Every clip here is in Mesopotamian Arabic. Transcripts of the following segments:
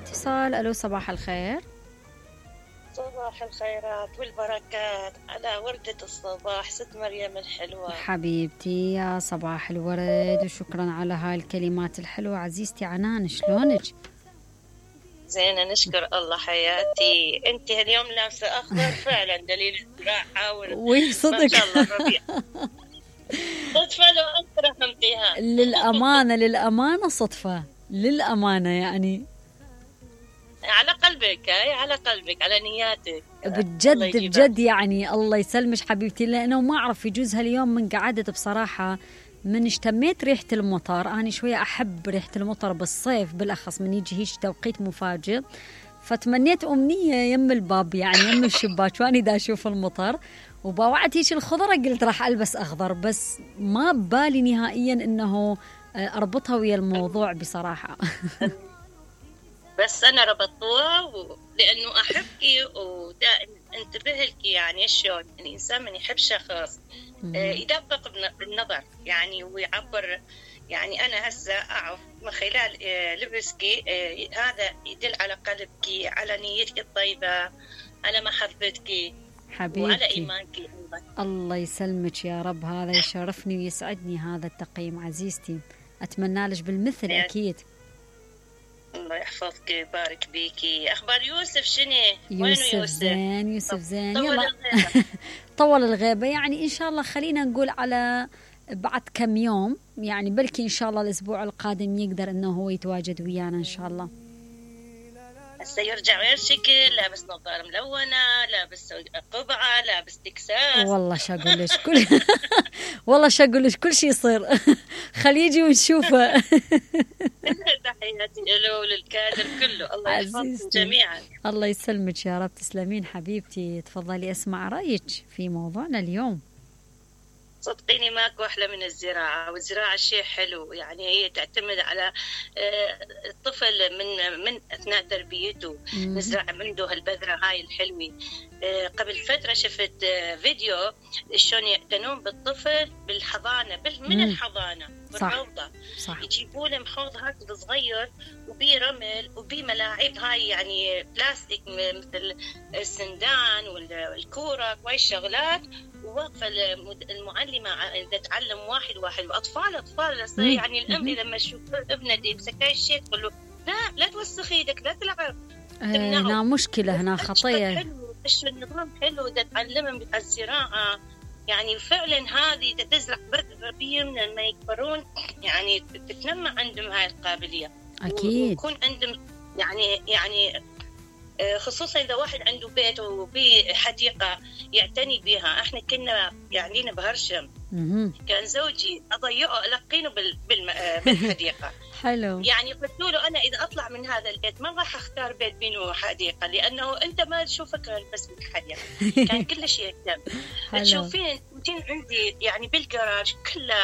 اتصال. الو صباح الخير. صباح الخيرات والبركات على وردة الصباح ست مريم الحلوة حبيبتي يا صباح الورد، وشكرا على هاي الكلمات الحلوة. عزيزتي عنان شلونك؟ زينة نشكر الله حياتي. انت اليوم لابسة اخضر فعلا دليل الزراعة وي صدق ما شاء الله الربيع. صدفة لو انت رحمتيها. للأمانة صدفة، للأمانة يعني على قلبك، هاي على قلبك، على نياتك بجد يعني. الله يسلمش حبيبتي، لأنه ما أعرف يجوز هاليوم من قعدت بصراحة من اشتميت ريحة المطر. أنا شوية أحب ريحة المطر بالصيف بالأخص من يجي هيش توقيت مفاجئ، فتمنيت أمنية يم الباب يعني يم الشباك واني دا أشوف المطر، وبوعت هيش الخضرة قلت راح ألبس أخضر، بس ما ببالي نهائيا إنه أربطها ويا الموضوع بصراحة. بس أنا ربطوها لأنه أحبك ودائما انتبه لك. يعني شلون الإنسان من يحب شخص يدقق بالنظر يعني ويعبر. يعني أنا هسه أعرف من خلال لبسك هذا يدل على قلبك، على نيتك الطيبة، على محبتك حبيبتي وعلى إيمانك. الله يسلمك يا رب، هذا يشرفني ويسعدني هذا التقييم عزيزتي، أتمنى لك بالمثل أكيد. الله يحفظك ويبارك بيكي. أخبار يوسف شنو؟ يوسف زين، يوسف زين. يلا طول الغيبة يعني إن شاء الله. خلينا نقول على بعد كم يوم يعني، بلكي إن شاء الله الأسبوع القادم يقدر إنه هو يتواجد ويانا إن شاء الله. هسه يرجع غير شكل، لابس نظارة ملونة، لابس قبعة، لابس تكساس. والله شاقول لك والله شاقول لك كل شيء يصير. خلي يجي ونشوفه. تحياتي له وللكادر كله، الله يحفظكم جميعا. الله يسلمك يا رب، تسلمين حبيبتي. تفضلي أسمع رأيك في موضوعنا اليوم. صدقيني ماكو أحلى من الزراعة، والزراعة شيء حلو. يعني هي تعتمد على الطفل من أثناء تربيته. نزرع منه هالبذرة هاي الحلوة. قبل فترة شفت فيديو شلون يعتنون بالطفل بالحضانة، من الحضانة بالروضة. يجيبوا له محوض هكذا صغير وبيه رمل وبيه ملاعب هاي يعني بلاستيك مثل السندان والكورة وهاي الشغلات، وواقفة المعلمة إذا تعلم واحد وأطفال يعني الأم لما تشوف ابنتي بسكاي الشيء تقول له لا توسخ ايدك، لا تلعب. هنا مشكلة، هنا خطية. إيش النظام حلو إذا تعلمهم بالزراعة. يعني فعلا هذه إذا تزرع بذرة بيهم لما يكبرون يعني تتنمى عندهم هاي القابلية أكيد، ويكون عندهم يعني خصوصا إذا واحد عنده بيت وبيه حديقة يعتني بها. احنا كنا يعني بهرشم كان زوجي أضيعه ألقينه بالحديقة. حلو. يعني قلت له أنا إذا أطلع من هذا البيت ما راح أختار بيت بينه حديقة، لأنه أنت ما تشوفك بس بالحديقة. كان كل شيء يهتم. تشوفين عندي يعني بالجراج كله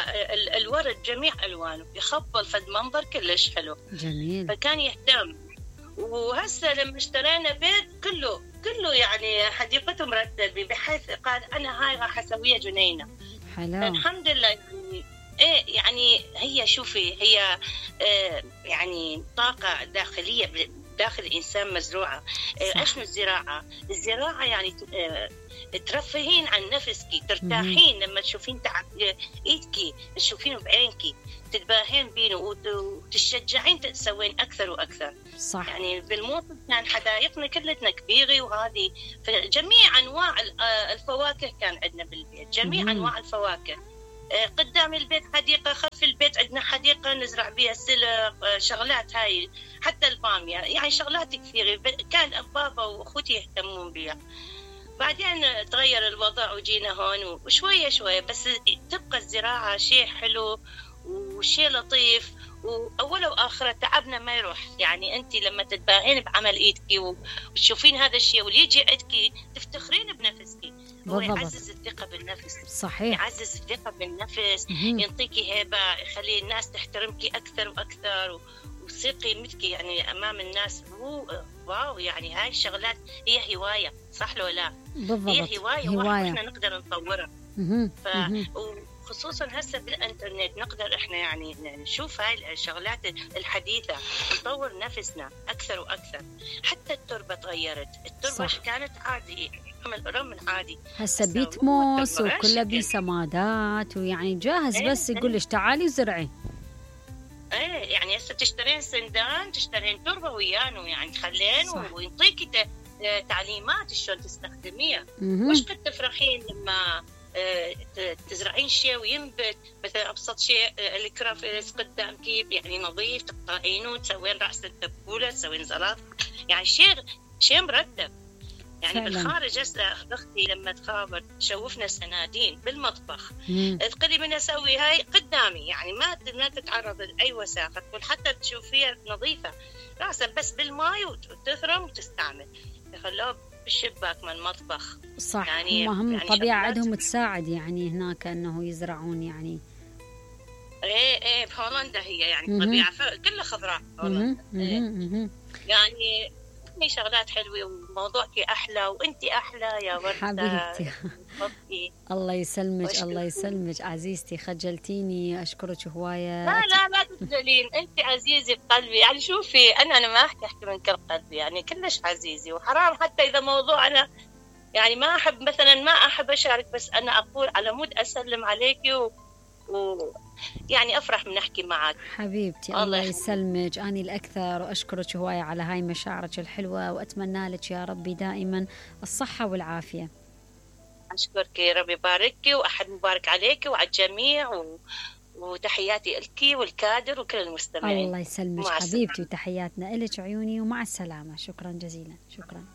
الورد جميع ألوانه، يخبل فد منظر كلش حلو جميل. فكان يهتم. وهسه لما اشترينا بيت كله يعني حديقته مرتبة، بحيث قال أنا هاي راح أسويها جنينة. حلو. الحمد لله. يعني يعني هي شوفي هي يعني طاقة داخلية داخل الإنسان مزروعة. إيش الزراعة يعني ترفهين عن نفسك، ترتاحين لما تشوفين تعب إيدك، تشوفينه بعينك، تتباهين بينه وتشجعين تسوين أكثر وأكثر. صح. يعني بالموسم كان حدائقنا كلتنا كبيرة، وهذه جميع أنواع الفواكه كان عندنا بالبيت، جميع أنواع الفواكه. قدام البيت حديقة، خلف البيت عندنا حديقة نزرع بها سلق، شغلات هاي حتى البامية، يعني شغلات كثيرة كان بابا وأخوتي يهتمون بها. بعدين تغير الوضع وجينا هون وشوية بس تبقى الزراعة شيء حلو وشيء لطيف، وأوله وآخره تعبنا ما يروح. يعني أنت لما تتباهين بعمل إيدك وتشوفين هذا الشيء واللي يجي عندك تفتخرين بنفسك. هو يعزز الثقة بالنفس. صحيح. يعزز الثقة بالنفس، ينطيك هيبة، يخلي الناس تحترمك أكثر وأكثر وتصير قيمتك يعني أمام الناس. واو يعني هاي الشغلات هي هواية، صح لو لا؟ بالضبط. هي هواية. وإحنا نقدر نطورها. خصوصا هسه بالانترنت نقدر احنا يعني نشوف هاي الشغلات الحديثه، نطور نفسنا اكثر واكثر. حتى التربه تغيرت، التربه صح. كانت عادي، رمل عادي، هسه بيتموس وكله بسمادات، ويعني جاهز بس يقول لك تعالي زرعي. ايه يعني هسه تشترين سندان، تشترين تربه ويانو يعني خلين ويعطيكي تعليمات شلون تستخدميها. مش قد تفرحين لما تزرعين شيء وينبت، مثلا ابسط شيء الكرافيس قدامك يعني نظيف، تقطعينه وتسوين راس التبوله، تسوين زلط، يعني شيء مرتب. يعني فعلا. بالخارج هسه اختي لما تخابر تشوفنا سنادين بالمطبخ، تقولي من اسوي هاي قدامي، يعني ما تتعرض لاي وساخه، تقول حتى تشوفيها نظيفه راسا بس بالماء وتثرم وتستعمل. يخلوها بالشباك من المطبخ. صح. يعني هم يعني طبيعة عندهم تساعد يعني هناك انه يزرعون يعني. ايه بهولندا هي يعني طبيعة كلها خضراء هولندا. يعني في شغلات حلوة وموضوعك أحلى وأنتي أحلى يا وردة حبيبتي. الله يسلمك الله يسلمك عزيزتي، خجلتيني، أشكرك هواية. لا تخجلين، أنت عزيزة بقلبي. يعني شوفي أنا ما أحكي من كل قلبي، يعني كلش عزيزي، وحرام حتى إذا موضوع أنا يعني ما أحب مثلا ما أحب أشارك، بس أنا أقول على مود أسلم عليكي يعني أفرح من أحكي معك حبيبتي. الله يسلمك، أني الأكثر، وأشكرك هواية على هاي مشاعرك الحلوة، وأتمنى لك يا ربي دائما الصحة والعافية. أشكرك، ربي يباركك، وأحد مبارك عليك وعلى الجميع، وتحياتي لك والكادر وكل المستمعين. الله يسلمك حبيبتي، وتحياتنا لك عيوني، ومع السلامة. شكرا جزيلا. شكرا.